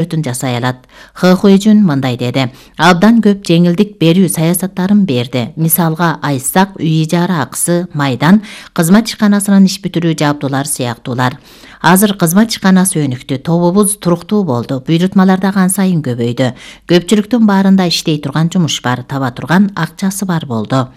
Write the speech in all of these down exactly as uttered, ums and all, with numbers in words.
өтүн жасай алат. Хэхуэжүн мындай деди: абдан көп жеңилдик берүү саясаттарын берди. Мисалга айтсак, үй ижара акысы, майдан, кызмат ишканасынын иш бүтүрүү жабдуулар сыяктуулар. Азыр кызмат ишканасы өнүктү, тобубуз туруктуу болду, буйрутмалар да ан сайын көбөйдү. Көпчүлүктүн баарында иштей турган жумуш бар, таба турган акчасы бар болду.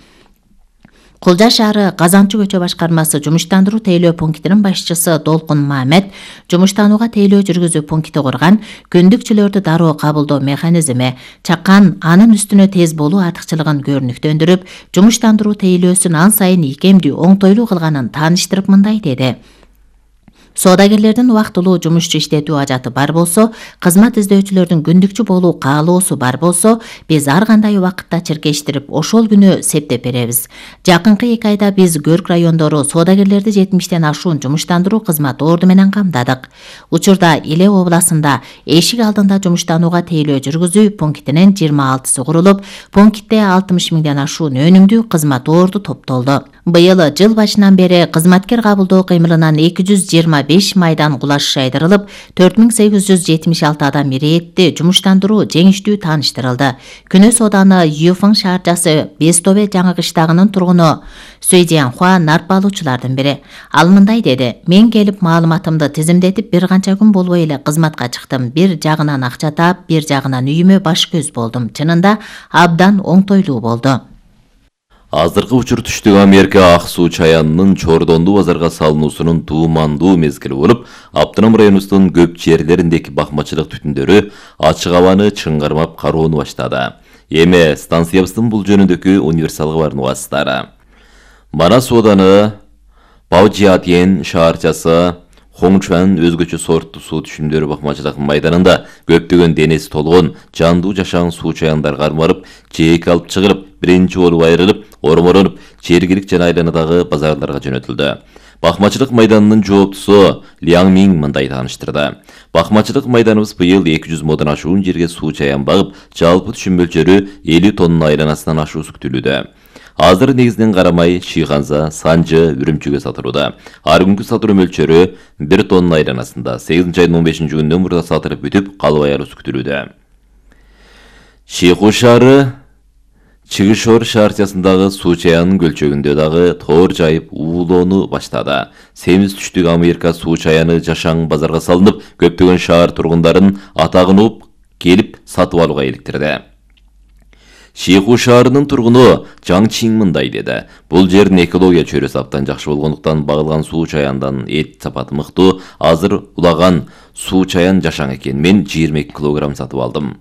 Кулжа шаары Казанчы көчө башкармасы жумуштандыруу тейлөө пунктинин башчысы Долкун Мамед жумуштанууга тейлөө жүргүзүү пункти курган, күндүкчүлөрдү дароо кабылдоо механизми чаккан, анын үстүнө тез болуу артыкчылыгын көрүнүктөндүрүп, жумуштандыруу тейлөөсүн ан сайын ийкемдүү, оңтойлуу кылганын тааныштырып мындай деди: Соодагерлердин убактылуу жумушчу иштетүү ажаты бар болсо, кызмат издөөчүлөрдүн күндүкчү болуу каалоосу бар болсо, биз ар кандай убакытта чиркештирип, ошол күнү септеп беребиз. Жакынкы эки айда биз Көрк райондору соодагерлерди жетимиштен ашуун жумуштандыруу кызмат орду менен камдадык. Учурда Иле областында эшик алдында жумуштанууга тейлөө жүргүзүү пунктинин жыйырма алтысы курулуп, пунктте алтымыш миңден ашуун өнүмдүү кызмат орду топтолду. Быйыл жыл башынан бери кызматкер кабылдоо кыймылынан эки жүз жыйырма беш майдан кулаш шайдырылып, төрт миң сегиз жүз жетимиш алты адам иретти жумуштандыруу жеңиштүү тааныштырылды. Күнөс ооданы Юфың шаарчасы Бестөбе жаңы кыштагынын тургуну Сөйдиянхуа нарп алуучулардын бири. Ал мындай деди: мен келип маалыматымды тизимдетип бир канча күн болбой эле кызматка чыктым. Бир жагынан акча таап, бир жагынан үйүмө баш көз болдум. Чынында абдан оңтойлуу болду. Азыркы учур түштүк Америка ак суу чаянынын Чордондуу базарга салынуусунун туумандуу мезгили болуп, Аптынам районубуздун көп жерлериндеги бакмачылык түтүндөрү ачык абаны чыңгармап кароону баштады. Эми станциябыздын бул жөнүндөгү универсал кабарын угасыздар. Манас ооданы Баожиатьен шаарчасы Хоңчуан өзгөчө сорттуу суу түшүмдөрү бакмачылык майданында көптөгөн денеси толгон жандуу жашаң суу чаяндар кармалып, жээк алып чыгылып, биринчи болуп айрылып, орморонуп, Чергилик жана айланадагы базарларга жөнөтүлдү. Бакмачылык майданынын жооптусу Ляң Миң мындай тааныштырды: бакмачылык майданыбыз быйыл эки жүз модон ашуун жерге суу чаян багып, жалпы түшүм мөлчөрү элүү тонна айланасынан ашуусу күтүлүүдө. Азыр негизинен карамай, Шийханза, Санжы, Үрүмчүгө сатылууда. Ар күнкү сатылуу мөлчөрү бир тонна айланасында сегизинчи айдын он бешинчи күнүнөн мурда сатылып бүтүп, калбай алуусу күтүлүүдө. Шейху шаары Чыгышор шаарчасындагы суу чаянын көлчөгүндө дагы тоор жайып уулоону баштады. Семиз түштүк Америка суу чаяны жашаң базарга салынып, көптөгөн шаар тургундарын атагын угуп келип сатып алууга иликтирди. Шейху шаарынын тургуну Жаң Чин мындай деди: бул жердин экология чөйрөсү абдан жакшы болгондуктан багылган суу чаяндан эт сапаты мыктуу. Азыр улаган суу чаян жашаң экен. Мен жыйырма эки килограмм сатып алдым.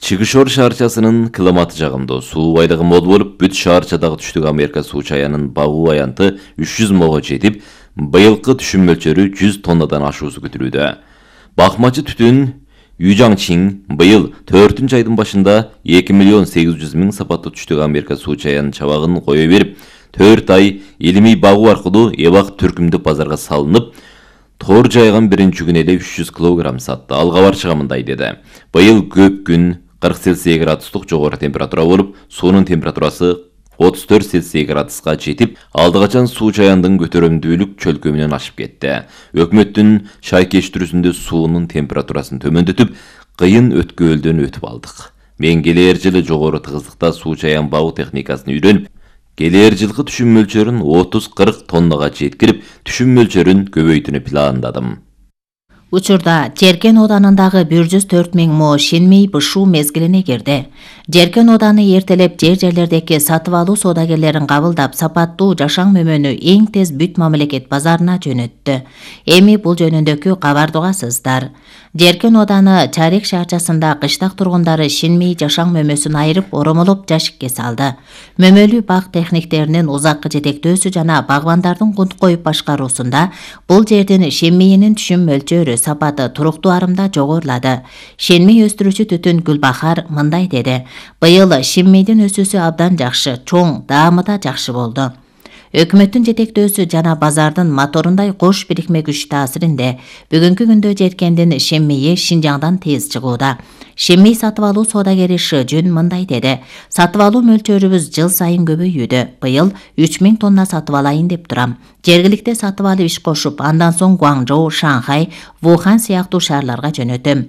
Чыгышор шаарчасынын климаты жагымдуу, суу байлыгы мол болуп, бүт шаарчадагы түштүк Америка суу чаянын багуу аянты үч жүз мого жетип, быйылкы түшүм мөлчөрү жүз тоннадан ашуусу күтүлүүдө. Бакмачы түтүн Южаң Чин быйыл төртүнчү айдын башында эки миллион сегиз жүз миң сапаттуу түштүк Америка суу чаянын чабагын кое берип, төрт ай илимий багуу аркылуу эбак түркүмдүк базарга салынып, тоор жайган биринчи күнү эле үч жүз килограмм сатты. Ал кабарчыга мындай деди: быйыл көп күн кырк Цельсий градустук жогору температура болуп, суунун температурасы отуз төрт Цельсий градуска жетип, алдыгачан суу чаяндын көтөрөмдүүлүк чөлкөмүнөн ашып кетти. Өкмөттүн шайкештирүүсүндө суунун температурасын төмөндөтүп, кыйын өткөөлдөн өтүп алдык. Мен келер жылы жогору тыгыздыкта суу чаян багуу техникасын үйрөнүп, келер жылкы түшүм мөлчөрүн отуз кырк тоннага жеткирип, түшүм мөлчөрүн көбөйтүүнү пландадым. Учурда Жеркен оданындагы бир жүз төрт миң мо шинмей бышуу мезгилине кирди. Жеркен оданы эртелеп жер жерлердеги сатып алуу соодагерлерин кабылдап, сапаттуу жашаң мөмөнү эң тез бүт мамлекет базарына жөнөттү. Эми бул жөнүндөгү кабарды угасыздар. Жеркен оданы Чарек шаарчасында кыштак тургундары шинмей жашаң мөмөсүн айырып, оромолоп жашикке салды. Мөмөлүү бак техниктеринин узаккы жетектөөсү жана багбандардын кунт коюп башкаруусунда бул жердин шинмейинин түшүм мөлчөрү сапаты туруктуу арымда жогорулады. Шинмей өстүрүүчү түтүн Гүлбахар мындай деди: быйыл шинмейдин өсүүсү абдан жакшы, чоң, даамы да жакшы болду. Өкмөттүн жетектөөсү жана базардын моторундай кош бирикме күч таасиринде бүгүнкү күндө Жеркендин шинмейи Шинжаңдан тез чыгууда. Шинмей сатып алуу соодагери Шыжүн мындай деди: сатып алуу мөлчөрүбүз жыл сайын көбөйүүдө. Быйыл үч миң тонна сатып алайын деп турам. Жергиликте сатып алып иш кошуп, андан соң Гуаңжоу, Шанхай, Вухан сыяктуу шаарларга жөнөтөм.